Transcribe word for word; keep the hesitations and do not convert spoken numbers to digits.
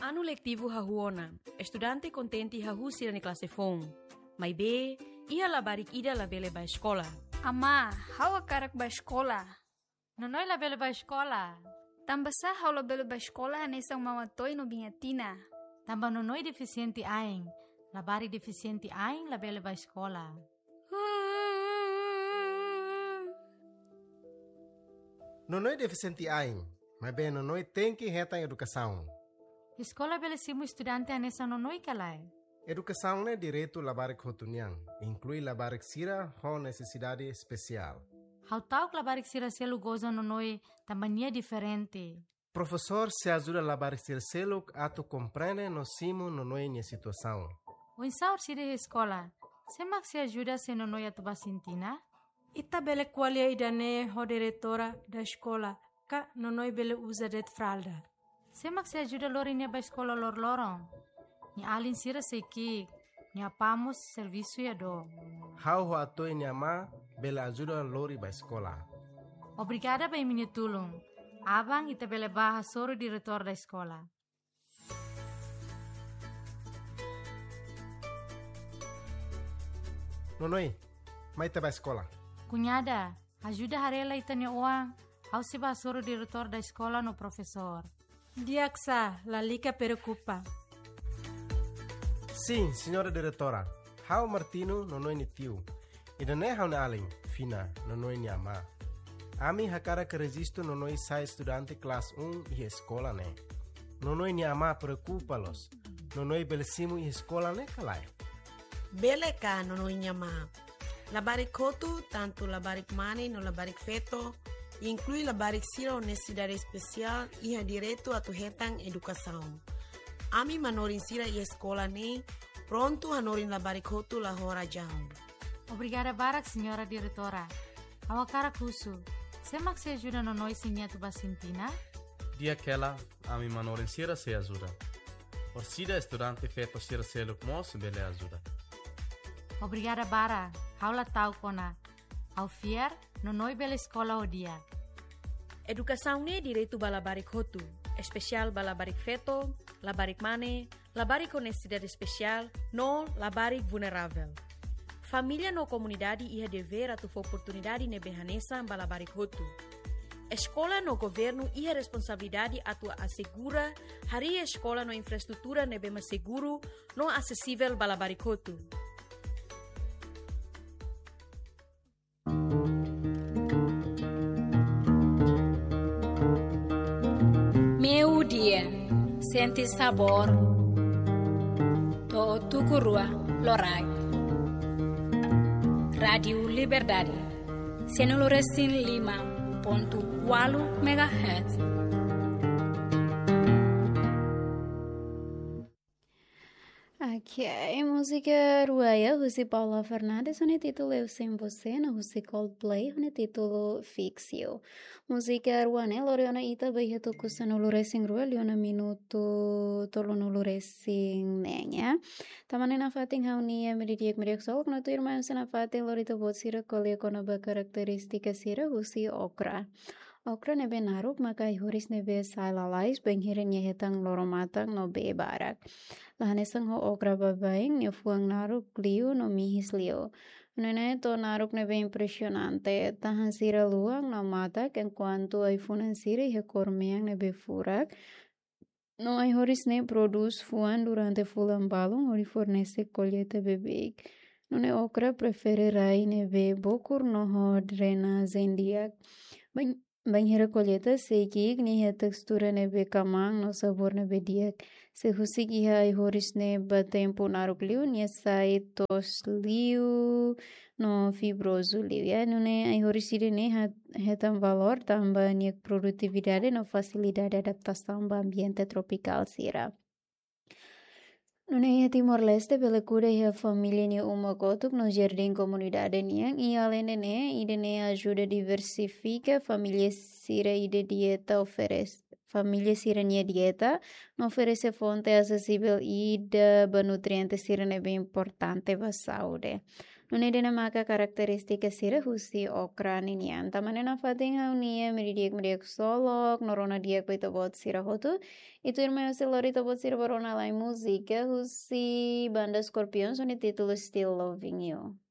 Anu letivu hahú ona, estudante kontente hahú sira-nia klase foun. Maibé, iha labarik ida labele bá eskola. Amá, ha'u hakarak bá eskola. Nonoi labele bá eskola. Tanbasá ha'u labele bá eskola hanesan Mama Toy no Biña Tina? Tanba Nonoi defisiente ain. Labarik defisiente ain labele bá eskola. Nonoi defisiente ain, maibé Nonoi tenke hetan edukasaun. Eskola bele simu estudante hanesan Nonoi ka lae? Edukasaun ne'e direitu labarik hotu nian, inklui labarik sira ho nesesidade espesiál. Ha'u ta'uk labarik sira seluk goza Nonoi tanba nia diferente. Profesór sei ajuda labarik sira seluk atu komprende no simu Nonoi nia situasaun. Oinsá orsida iha eskola, sé mak sei ajuda se Nonoi atu bá sintina? Ita bele ko'alia ida-ne'e ho diretora da eskola, ka Nonoi bele uza de'it fralda. Sé mak sei ajuda lori nia bá eskola loroloron? Nia alin sira sei ki'ik, nia apá mós servisu iha dook. Ha'u ho Atoy nia amá bele ajuda lori bá eskola. Obrigada ba imi-nia tulun. Aban ita bele bá hasoru diretór da eskola. Nonoi, mai ita bá eskola. Kuñada, ajuda haree lai ita-nia oan, ha'u sei bá hasoru diretór da eskola no profesór. Di'ak sá, lalika preokupa. Sin, señora diretora. Ha'u Martino, Nonoi nia tiu. Ida-ne'e ha'u-nia alin, Fina, Nonoi nia amá. Ami hakarak rejistu Nonoi sai estudante klase um iha eskola ne'e. Nonoi nia amá preokupa loos. Nonoi bele simu iha eskola ne'e ka lae? Bele ka, Nonoi nia amá? Labarik hotu, tantu labarik mane no labarik feto, inklui labarik sira ho nesesidade espesiál, iha direitu atu hetan edukasaun. Ami manorin sira iha eskola ne'e prontu hanorin labarik hotu la ho razaun. Obrigada barak, señora diretora. Ha'u hakarak husu, sé mak sei ajuda Nonoi se nia atu bá sintina? Di'ak hela, ami manorin sira sei ajuda. Orsida estudante feto sira seluk mós bele ajuda. Obrigada barak, ha'u la ta'uk ona. Ha'u fiar, Nonoi bele eskola ho di'ak. Edukasaun ne'e direitu ba labarik hotu, espesiál ba labarik feto, labarik mane, labarik ho nesesidade espesiál, no labarik vulneravel. Família no komunidade iha devér atu fó oportunidade ne'ebé hanesan ba labarik hotu. Eskola no governu iha responsabilidade atu asegura harii eskola no infraestrutura ne'ebé mak seguru no asesivel ba labarik hotu. Meiudia, sente sabór to'o tuku rua loraik. Rádiu Liberdade, sanulu resin lima pontu ualu megahertz. Ok, múzika Ruaya husi Paula Fernandes ho nia títulu Eu Sem Você, no husi Coldplay ho nia títulu Fix You. Múzika rua ne'e lori ona ita ba iha tuku sanulu resin rua liu ona minutu tolunulu resin neen, ya. Tan ne'e nafatin ha'u-nia Amiga Di'ak, Amiga Di'ak Solok no tuirmai husi nafatin lori ita-boot sira ko'alia kona-ba karakterístika sira husi okra. Okra ne'ebé naruk maka ai-horis ne'ebé sai lalais bainhira nia hetan loro-matan no bee barak. La hanesan ho okra baibain, nia fuan naruk liu no mihis liu. Nune'e to'o naruk ne'ebé impresionante, tahan sira luan no matak, enkuantu ai-funan sira iha kór mean ne'ebé furak. No ai-horis ne'e prodús fuan durante fulan balun hodi fornese kolleita beibeik. Nune'e okra prefere rai ne'ebé bokur no ho drenajen di'ak. Bain-, bainhira kolleita sei ki'ik, nia iha tekstura ne'ebé kamaan no sabór ne'ebé di'ak. Se husik iha ai-horis ne'e ba tempu naruk liu, nia sai toos liu no fibrozu liu, ya. Nune'e ai-horis ida-ne'e ha-, hetan valór tanba nia produtividade no fasilidade adaptasaun ba ambiente tropikál sira. Nune'e iha Timor-Leste bele kuda iha família nia uma kotuk no jardín komunidade nian, i aleinde ne'e, ida-ne'e ajuda diversifika família sira ida dieta oferese, família sira-nia dieta, no oferese fonte asesivel ida ba nutriente sira ne'ebé importante ba saúde. Nune'e ida-ne'e maka karakterístika sira husi okra ninian. Tanba ne'e nafatin ha'u-nia meri di'ak, meri di'ak ksolok no rona di'ak ba ita-boot sira hotu. I tuirmai ha'u sei lori ita-boot sira ba rona lai múzika husi banda Scorpions ho nia títulu Still Loving You.